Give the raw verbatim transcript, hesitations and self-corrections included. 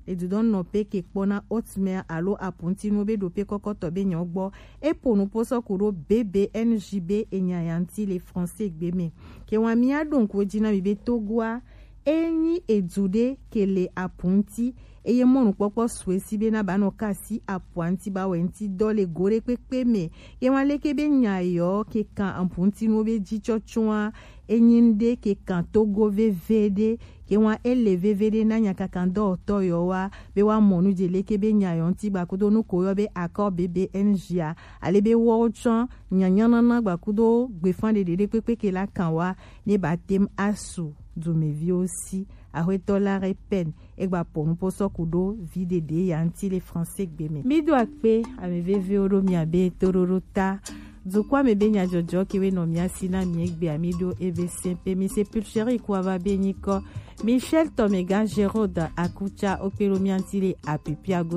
Edudɔn nɔ pe ke kpɔ na Otmer alo apunti nu be ɖo pe kɔkɔtɔ be nyɔ gbɔ. E po nu po sɔ ku ɖo B B N J B e nya ya ŋuti le français gbe me. Ke wa mi a ɖo ŋku ji na mi be Togoa e nyi edu ɖe ke le apunti eye mɔnukpɔkpɔ sue si be na ba nɔ ka si apunti ba wɛ ŋuti dɔ le go ɖe kpekpe me. Ke wa leke be nya yɔ ke kan apunti nu be ji tsɔtsɔa e nyi ŋɖe ke kan Togo veve ɖe. Ke wa e le veve ɖe na nyakakandɔwɔtɔ yɔ wa be wa mɔ nu je leke be nya yɔ ŋuti gbakudo nu ko yɔ be accord B B N J a ale be wɔ tsɔ nyanyanana gbakudo gbefan ɖeɖe ɖe kpekpe ke la kan wa ne ba tem asu dumeviwo si. Axwetɔ la répète egba po nu po sɔ ku ɖo vi ɖeɖe ya ŋuti le français gbe me. Mi do akpe ame vevewo ɖo mia be toɖoɖo ta. Dukɔa me be nyadzɔdzɔ kewe nɔ mia si na mi egbe ami ɖo eve sɛnpe mi se pulcheri ku ava be nyikɔ Michel Tomega Gérode Akucha okpe ɖo mia ŋuti le apipiago